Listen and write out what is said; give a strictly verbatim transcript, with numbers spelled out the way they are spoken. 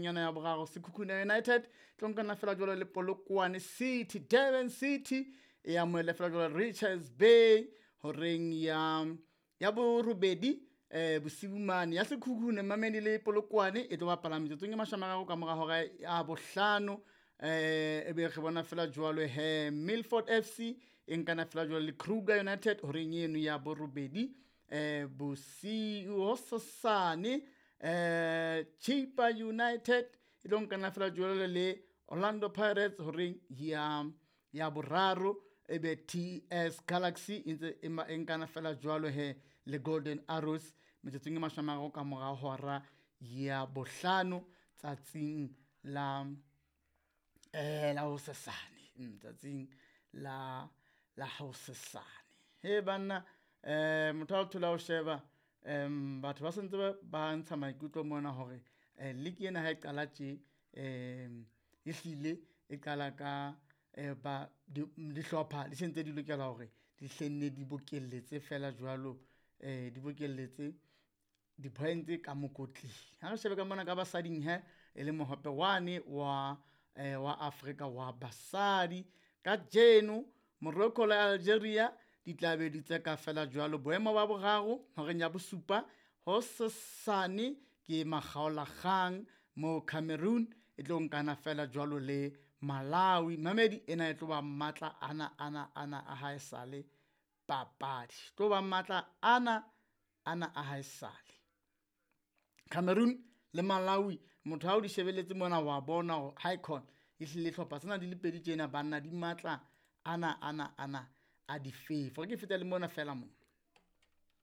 horeng ena ya boraro. Sekhukhune United tlo nkana fela jwalo le Polokwane City. Durban City e amohele fela jwalo Richards Bay horeng ya ya borobedi eh bosiu mane. Ya Sekhukhune mamedi le Polokwane e tlo bapala metsotsong e mashome a mararo ka mora hora ya bohlano. Eh ebe re bona fela jwalo he Milford F C e nkana fela jwalo le Kruger United horeng eno ya borobedi eh bosiu. Hosasane eh Chippa United e tlo nkana fela jwalo le Orlando Pirates horeng ya ya boraro. Ebe T S Galaxy e ntse e ma-, e nkana fela jwalo he le Golden Arrows metsotsong e mashome a mararo ka mora hora ya bohlano tsatsing la, eh, la hosasane. Mm, tsatsing la, la hosasane. He banna, eh, motho ha o thola ho sheba, em, batho ba sentse ba, ba ntsha maikutlo mona hore, eh, league ena ha e qala tje, em, ehlile e qala ka, eh, ba, di, dihlopha di sentse di lokela hore di hlenne di bokelletse fela jwalo, eh, di bokelletse di-points ka mokotleng. Ha re shebe ka mona ka basading he, e le mohope wane wa, eh, wa Afrika wa basadi. Kajeno Morocco le Algeria di tla be di tseka fela jwalo boemo ba boraro horeng ya bosupa. Hosasane ke makgaolakgang mo Cameroon e tlo nkana fela jwalo le Malawi. Mamedi ena e tlo ba matla ana, ana, ana a haesale papadi. Tlo ba matla ana, ana a haesale. Cameroon le Malawi, motho ha o di shebeletse mona wa bona hore ha e khona ehlile hlopha tsena di le pedi tjena banna di matla ana, ana, ana a di fefo. Re ke feta le mona fela mona.